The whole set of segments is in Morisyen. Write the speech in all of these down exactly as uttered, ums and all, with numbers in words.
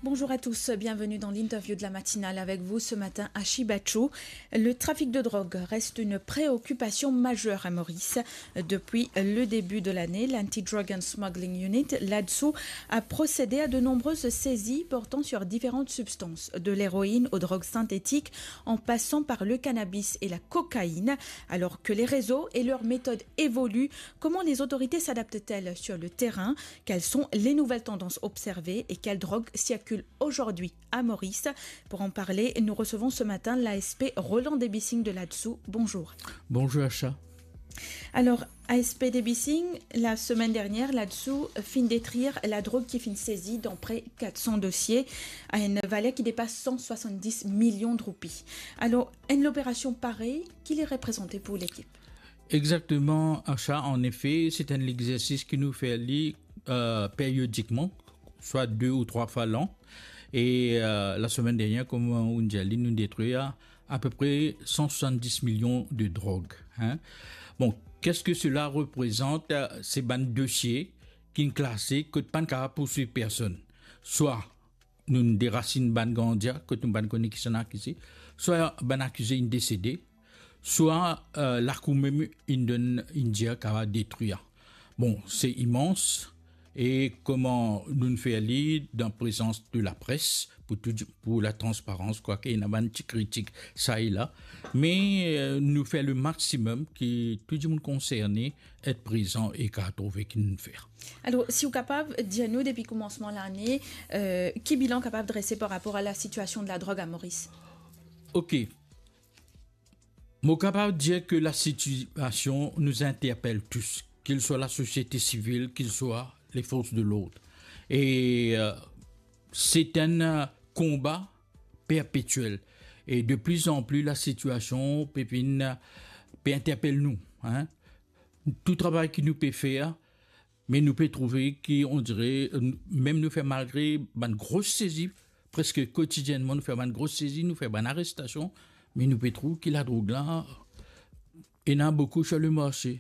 Bonjour à tous, bienvenue dans l'interview de la matinale. Avec vous ce matin, Ashi Bachou. Le trafic de drogue reste une préoccupation majeure à Maurice. Depuis le début de l'année, l'Anti-Drug and Smuggling Unit, l'ADSU, a procédé à de nombreuses saisies portant sur différentes substances, de l'héroïne aux drogues synthétiques, en passant par le cannabis et la cocaïne. Alors que les réseaux et leurs méthodes évoluent, comment les autorités s'adaptent-elles sur le terrain ? Quelles sont les nouvelles tendances observées et quelles drogues circulent aujourd'hui à Maurice ? Pour en parler, nous recevons ce matin l'A S P Roland Debissing de l'ADSU. Bonjour. Bonjour, Acha. Alors, A S P Debissing, la semaine dernière, l'ADSU finn detrir ladrog ki finn sezi dan pre quatre cents dosiers, a enn valer ki depas cent soixante-dix millions de roupies. Alors, enn opération parey, ki li reprezante pou lekip? Exactement, Acha. En effet, c'est un exercice que nous faisons, euh, périodiquement, soit deux ou trois fois l'an. Et, euh, la semaine dernière, comme on dit, nous détruit à, à peu près cent soixante-dix millions de drogues, hein. Bon, qu'est-ce que cela représente? Euh, c'est un dossier qui est classé, que pas capable poursuivre personne. Soit nou derasinn bann ganga, kot nou pa kone kisannla akize, swa bann akize inn desede, swa, euh, lakour mem inn donn, inn dir kapav detrir. Bon, se imans, e kouma nou fer li dan prezans de lapres, pou tou, pou latransparans, kwake ena bann ti kritik sa e la, me, euh, nou fer le maximum ki tou dimoun konserne et prezan e kapav trouve ki nou fer. Alor, si ou kapav dir nou depi koumansman lane, euh, ki bilan kapav drese par rapor a lasitiasion de ladrog a Moris? Ok. Mo kapav dir ke lasitiasion nou interpel tous, qu'il soit la société civile, qu'il soit les forces de l'ordre. E, euh, se enn, euh, konba perpetiel. E de pli an pli, lasitiasion pe vinn, euh, pe interpel nou, hein. Tou travay ki nou pe fer, me nou pe trouve ki, on dire, euh, mem nou fer malgre bann gro sezi, preske kotidiennman nou fer bann gro sezi, nou fer bann arestasion, me nou pe trouv ki ladrog la, ena boukou sir le marse.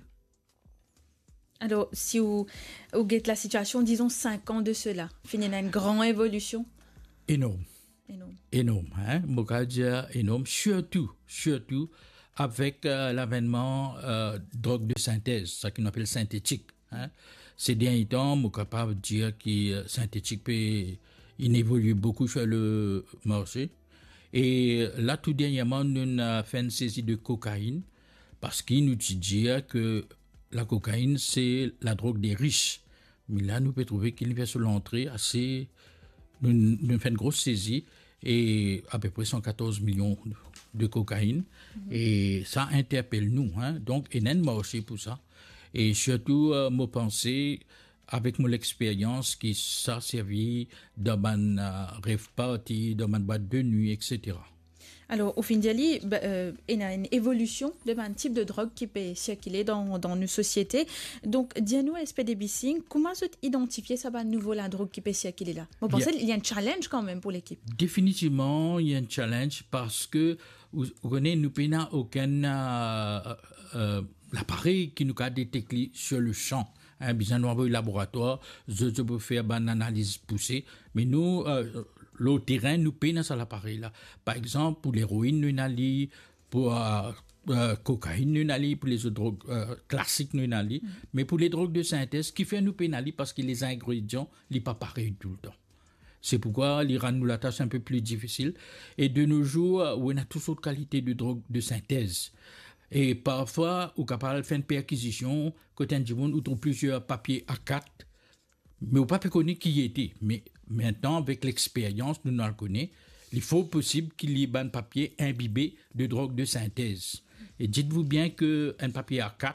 Alor, si ou, ou get lasitiasion, dizon, sink an de sela, finn ena enn gran evolision? Enorm. Enorm. Enorm, hein? Mo kapav dir enorm, sirtou, sirtou avek, euh, lavennman, euh, drog de sintez, sa ki nou apel sintetik, hein. Se dernie tan, mo kapav dir ki, euh, sintetik pe, inn evolie boukou sir le marse. E la, tou dernièrman, nou inn fer enn sezi de kokainn, parski nou ti dir ke lakokainn, se ladrog de ris. Me la, nou pe trouve ki li fer so lantre ase, nou, nou fer enn gro sezi, e apepre san katorz milion de kokainn. Mhm. E sa interpel nou, hein. Donk, ena enn marse pou sa. E sirtou, euh, mo panse, avek mo lexperyans, ki sa servi dan bann, euh, rave party, dan bann bwat de nwi, et cetera. Alor, ou finn dir li, ba, euh, ena enn evolision de bann tip de drog ki pe sirkile dan, dan nou sosiete. Donk, dir nou, A S P Debissing, kouma zot idantifie sa bann nouvo ladrog ki pe sirkile la? Mo panse li enn challenge kanmem pou lekip. Definitivman, li enn challenge parski, ou, ou kone, nou pena okenn, euh, euh, laparey ki nou kapav detek li sir le san. Hein, bizin nou avoy laboratwar, zot, zot pou fer bann analiz pouse. Me nou, euh, lor terin, nou pena sa laparey la. Par exanp, pou leroinn, nou ena li, pou, euh, euh, kokainn, nou ena li, pou lezot drog, euh, klasik, nou ena li. Mm. Me pou ledrog de sintez, kifer nou pena li, parski lezingredian, li pa parey toultan. Se poukwa li rann nou latas enn pe pli difisil. E de no zour, ou ena tou sort kalite de drog de sintez. E parfwa, ou kapav al fer enn perkizision, kot enn dimoun, ou trouv plizier papie A kat, me ou pa pe kone ki li ete. Me aster, avek lexperyans, nou, nou al kone, li for posib ki li bann papie inbibe de drog de sintez. E dites-vous bien ke enn papie A kat,